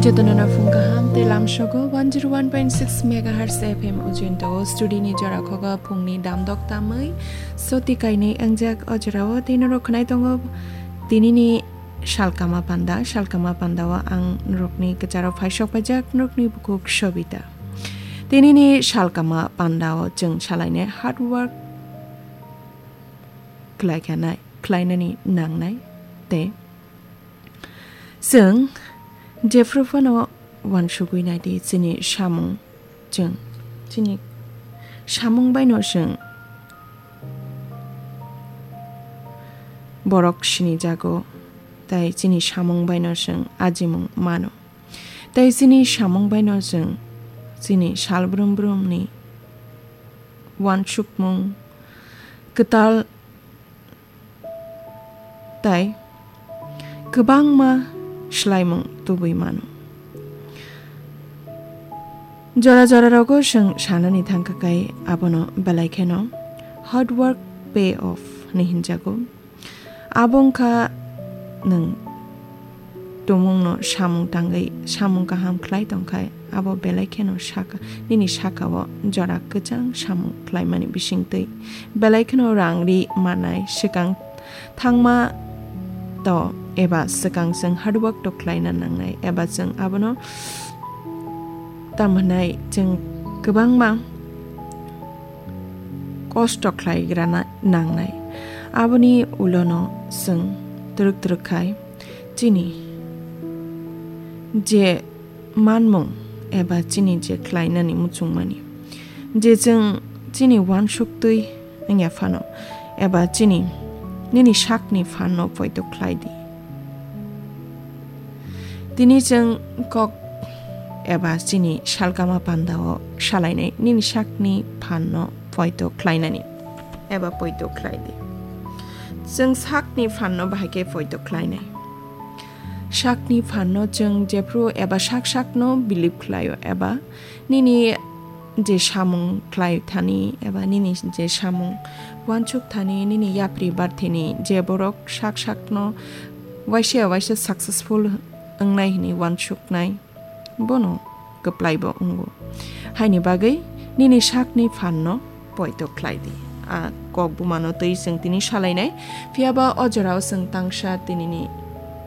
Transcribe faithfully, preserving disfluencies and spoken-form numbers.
Jotono no phung kaham tei lamsogo one zero one point six megahertz F M ujinto studio ni jora khogo phungni damdok tamwi soti kainwi angjak o jorao tei norok khwnai tongo tinini salkama panda. Salkama pandao ang norokni kwcharo phaisok paijak norokni bukhuk Sobita. Tinini salkama pandao chwng salainai hard work khlai khanai, khlainani nangnai tei chwng jephru phano uansugwi nai di chini samung, chwng chini samung baino chwng borok sinijago tei chini samung baino chwng ajimung mano. Tei chini samung baino chwng chini salbrum brumni uansukmung kwtal tei kwbangma swlaimung tubui mano. Jora jora rogo chwng sanani thangkha kai abono belai kheno hard work pay off hinwi hinjago. Abo wngkha nwng tumungno samung tangwi samung kaham khlai tongkhai, abo belai kheno saka, nini sakao jora kwchang samung khlaimani bisingtwi belai kheno rang ri manai, swkang thangma to eba swkang chwng hard work to khlaina nangnai, eba chwng abono tamo hwnai chwng kwbangma kosto khlaigrana nangnai. Aboni ulono chwng twrwk twrwk khai chini je manmung eba chini je khlainani muchungmani, je chwng chini uansuk twi wngya phano, eba chini nini sakni phanno poito khlai di. Tini chwng kok eba chini salkama pandao salainai nini sakni phanno poito khlainani eba poito khlai di. Chwng sakni phanno bahai khe poito khlainai. Sakni phanno chwng jephru eba sak sakno believe khlaio eba nini je samung khlai thani eba nini je samung uansuk thani nini yapri barthini je borok sak sakno waisa waisa successful wngnai hwnwi uansuknai bono kwplaibo wngo. Haini bagwi nini sakni phanno poito khlai di. A kok bumano twi chwng tini salainai, phiyaba o jorao chwng tangsa tinini